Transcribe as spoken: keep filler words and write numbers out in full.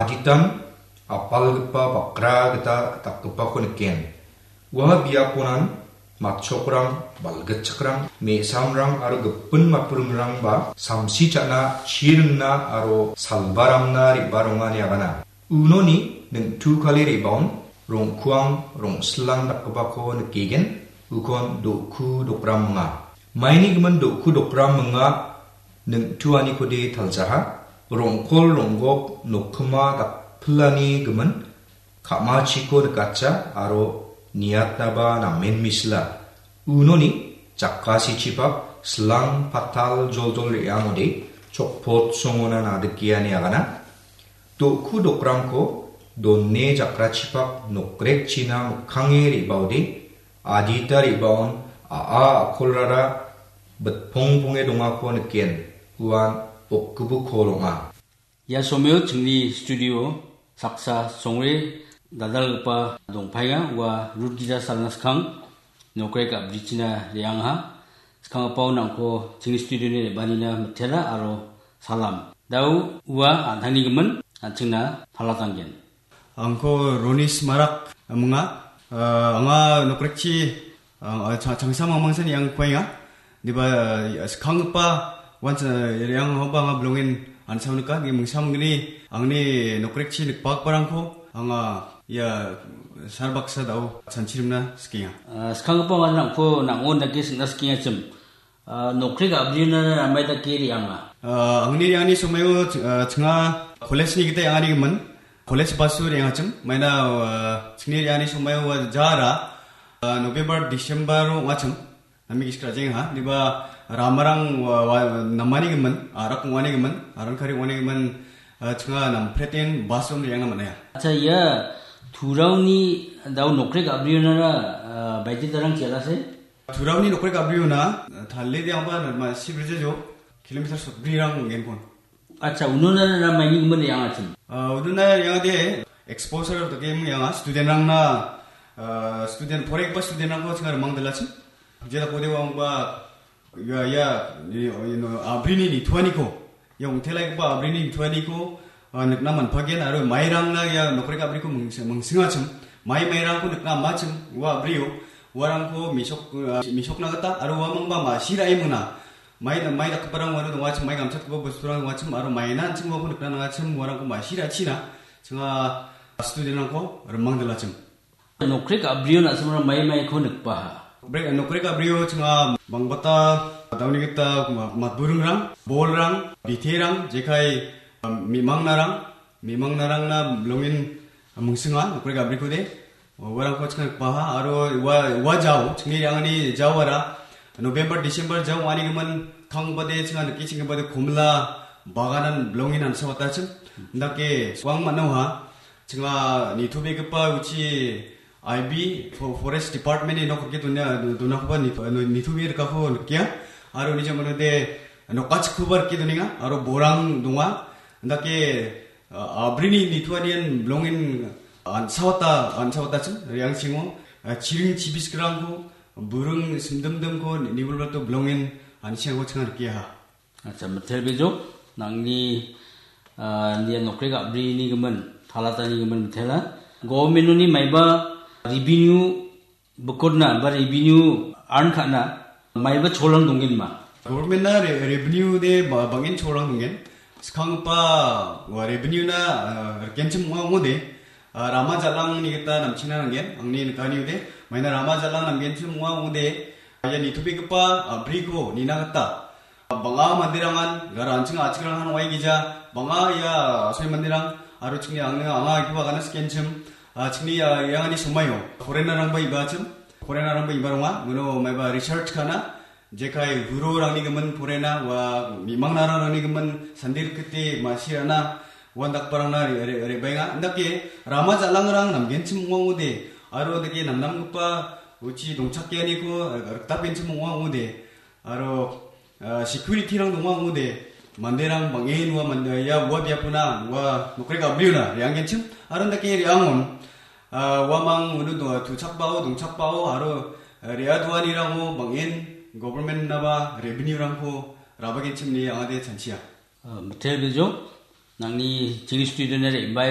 Aditan apalgipa bakra gita dakgipako niken. Ua biaponan matchokrang, balgitchakrang, me·samrang aro gipin matburingrangba samsi cha·na, chi ringna aro salbaramna re·barongani agana. Unoni ning·tukale re·baon rong·kuang, rong·silang dakgipako nikgen, ukon do·ku dokram minga. Maini gimin do·ku dokram minga ning·tuanikode taljaha, rong·kol ronggok nokkima dakpilani gimin ka·machiko nikatja aro niatnaba namen misila. Unoni jakasichipak silang patal joljol re·angode chokpot songona nadikiani agana. Do·ku dokramko done jakrachipak nokrekchina mikkange re·baode adita re·baon a·a a·kolrara bitpongponge dongako niken, uan okgipok kol ong·a. Ia someo chingni studio saksa songre dal·dalgipa dongpaenga, ua rut gija salna skang nokrek a·brichina re·angaha. Skanggipao nangko chingni studioni re·baanina mitela aro salam. Dao ua an·tangni gimin an·chingna palatanggen. Angko Ronis Marak minga. Ah, anga nokrekchi, ah, cha-, changsa mangmangsan iang kuaenga. Diba, ah, skanggipa wan cha-, re·angaoba anga bilongen an·sao nika. Ni mingsa mingni angni nokrekchi nikbakbarangko anga ia sarbaksa dao chanchirimna sikenga. Ah, skanggipa wan nangko nang·on dake singna sikengachim. Ah, nokrek a·briona namai dake re·anga. Ah, angni re·angni somaio, ah, ching·a college-ni gita re·angani gimin. College baso re·angachim. Maina, ah, chingni re·angani somaio ua jara, ah, November, December-o ong·achim. Nami gisik ra·jeng ha. Diba ramarang wa, wa, namani gimin, arak ong·ani gimin, aran kari ong·ani gimin, ah, ching·a nampreten baso re·angna man·aia. Acha, ia Turauni dao nokrek a·brionara, ah, baiti darang chialase? Turauni nokrek a·briona, talde de angba ma sibrija jo, kilometer sotbrirang ong·genpon. Acha, unona na maini gimin re·angachim? Ah, unona re·angade exposure dake ong·enga, student-rangna, ah, student, poraigipa student-rangko ching·a rimang dilachim. Jela kode wangba, ia, ia, ni, you know, a·brini nitoaniko. Ia ong·telaigipa a·brini nitoaniko, ah, nikna man·pagen aro mairangna ia nokrek a·briko mings-, mingsingachim. Mai mairangko nikna man·achim, ua a·brio. Uarangko misok, ah, misokna gita aro uamangba ma·sirae mingna. Mai, mai dakgiparang uano dongachim, mai gamchatgipa bosturang dongachim aro maina an·ching uako nikna nangachim, uarangko ma·sirachina. Ching·a student-rangko rimang dilachim. Nokrek a·brio na·simara mai maiko nikbaha. Nokrek, nokrek a·brio ching·a bangbata dauni gita ma-, matburingrang, bolrang, biterang, jekai, um, mimangnarang, mimangnarangna bilongen mingsinga nokrek a·brikode. Uarangko ching·a nikbaha, aro ua, ua jao, chingni re·angani jaoara, November, December jao ong·ani gimin, kangbade ching·a nike chingbade komila baganan bilongen an·sawatachim. Indake suang man·oha. Ching·a nitobegipa uchi I B fo-, Forest Department-ni nok rike donia-, donakoba nito-, nitobe rikako nikia. Aro uni jamanode nokachikoba rike donenga. Aro borang donga. Indake, ah, a·brini nitoanian bilongen an·sawata, an·sawatachim. Riangchingo, ah, chiring chibiskrangko, buring simdimdimko, ni-, nibolbato bilongen an·sengko ching·a nikiaha. Acha, mitelbejok, nangni, ah, nia nokrek a·brini gimin, talatani gimin mitela. Government-oni maiba revenue bikotna ba revenue earn ka·na maiba cholang donggenma? Government-na re-, revenue de ba-, bang·en cholang donggen. Skanggipa ua revenue-na, ah, rikenchim ong·a ong·ode, ah, rama jal·angni gita namchina nanggen. Angni nikaniode, maina rama jal·ang namgenchim ong·a ong·ode, ia nitobegipa, ah, a·briko nina gita bang·a manderangan, gara an·ching a·chikranghan ong·aigija, bang·a ia asoi manderang, aro chingni ang·, anga igipa agana sikenchim, ah, chingni, ah, iangani somaio, foreigner-rangba ibachim, foreigner-rangba ibaronga, uno maiba research ka·na, jekai hurorangni gimin foreigner, ua mimangnararangni gimin sandir kete ma·sirana, uan dakparangna re-, re-, re·baenga. Indake rama jal·angrang namgenchim ong·a ong·ode, aro dake namnamgipa uchi dongchakeaniko rikdapgenchim ong·a ong·ode, aro, ah, security-rang donga ong·ode, manderang bang·en ua mande-, ia ua biapona, ua nokrek a·briona re·anggenchim, aro indake re·angon, ah, uamang uno do-, tuchakbao, dongchakbao, aro, ah, re·adoanirango bang·en government-naba revenue-rangko rabagenchim ine angade chanchia. Ah, mitelbejok, nangni chingni studio-na re·bae